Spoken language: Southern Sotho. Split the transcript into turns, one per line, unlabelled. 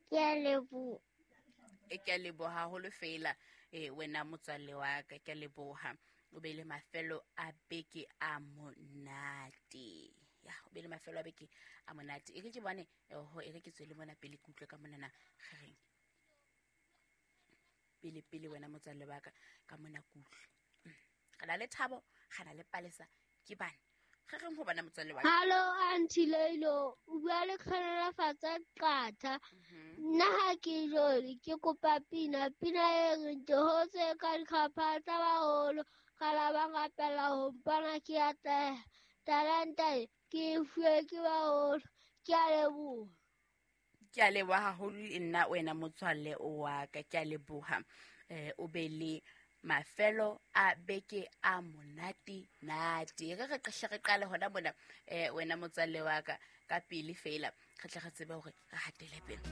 Ke a leboha.
E ke a leboha haholo fela e wena motswalle wa ka, ke a leboha. O be le mafelo a beke a monate. Ya, o be le mafelo a beke a monate. E re ke bone, oho, e re ke tswele mona pele ke utlwe ka monana gereng. Pele pele wena motswalle wa ka, ka mona ke utlwe. Re na le Thabo, re na le Palesa, ke bana. Ge reng ho bona motswalle wa ka?
Hallo Aunty Leilo, o bua le Kgonofatsa Qatha. Nna ha ke jole, ke kopa pina, pina e reng ke hotse ka dikgapha tsa baholo, ka la ba rapela ho mpona ke atleha. Talenta e ke e fuwe ke baholo. Ke a leboha.
Ke a leboha haholo le nna wena motswalle wa ka, ke a leboha. O be le mafelo a beke a monate nate. Re re hle re qale hona mona, wena motswalle wa ka, ka pele fela, re tle re tsebe hore re hatele pele.